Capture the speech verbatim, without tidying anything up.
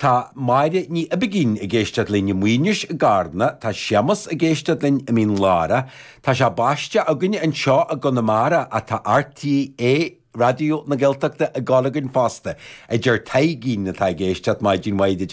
Tá Máire Ní Oibigín ag éisteacht linn i Maínis i gCarna, tá Séamus ag éisteacht linn i Mín Lárach, Tá sé baiste againn anseo i gConamara ach tá RTÉ Raidió na Gaeltachta ag gabháil againn fosta, a deir Taidhgín atá ag éisteacht maidin mhaith duit.